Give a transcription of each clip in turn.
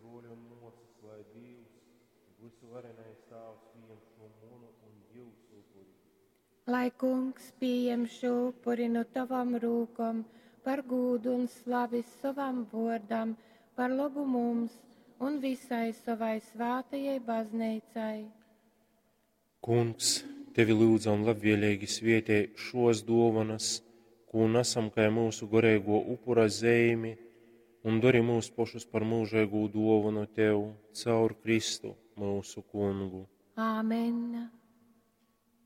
bruoļi un muosys, lai Dīvs, vysuvarenais Tāvs, pījem šū munu un jiusu upuri. Lai Kungs pījem šū upuri nu tavom rūkom par gūdu un slavi sovam vuordam, par lobu mums un visai sovai svātajai bazneicai. Kungs, tevi lyudzam labvieleigi svietej šuos duovonys, kū nasam kai myusu goreiguo upura zeimi, un dori myus pošus par myužeigū duovonu tev caur Kristu, myusu Kungu. Āmen.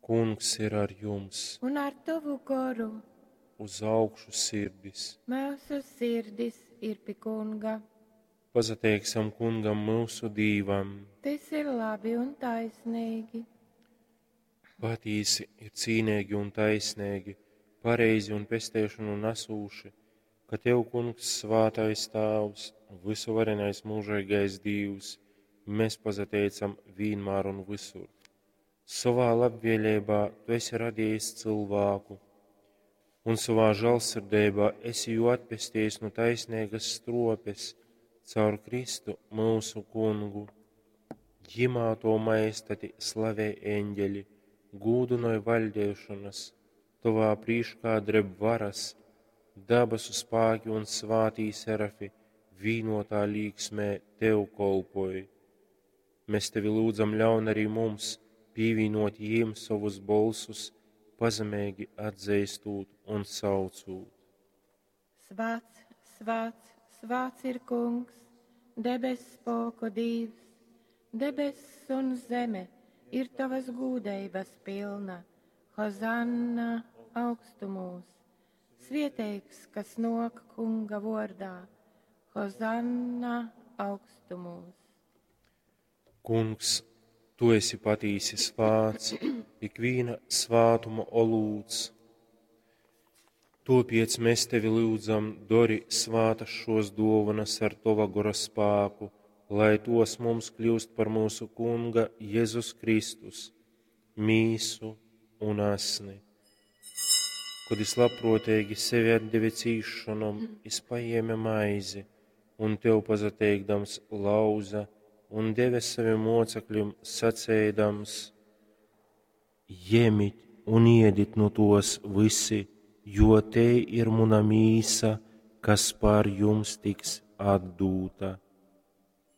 Kungs ir ar jums! Un ar tovu goru Uz augšu sirdis! Myusu sirdis ir pi Kunga. Pasateiksim Kungam, myusu Dīvam! Tys ir labi un taisnīgi. Patīsi ir cīneigi un taisneigi, pareizi un pesteišonu nasūši, ka tev, Kungs, svātais Tāvs, vysuvarenais myužeigais Dīvs, mēs pasateicam vīnmār un vysur. Sovā labvēleibā tu esi radījis cilvēku, un sovā žālsirdeibā esi jū atpestejis nu taisneigas struopes caur Kristu, myusu Kungu. Jimā to majestati slavej eņģeļi, gūdynoj vaļdeišonas, tovā prīškā dreb varas, dabasu spāki un svātī serafi vīnotā līksmē tev kolpoj. Mēs tevi lūdzam ļaun arī mums pīvīnot jīm sovus bolsus, pazemeigi atzeistūt un saucūt. Svāts, svāts, svāts ir Kungs, debess spōku Dīvs, debess un zeme ir tavas gūdeibas pilna. Hozanna augstumūs! Svieteigs, kas nōk Kunga vordā. Hozanna augstumūs! Kungs, tu esi patīsi svāts, ikvīna svātuma olūts. Topiec mēs tevi lyudzam, dori svātas šos duovanas ar tova gora spāku, lai tos mums kļūst par mūsu Kunga Jēzus Kristus, mīsu un asni. Kod jis labpruoteigi sevi atdeve cīsšonom, jis pajēme maizi un tev pasateikdams lauza un deve savim mocekļim, saceidams: Jemit un iedit nu tos visi, jo tei ir muna mīsa, kas par jums tiks atdūta.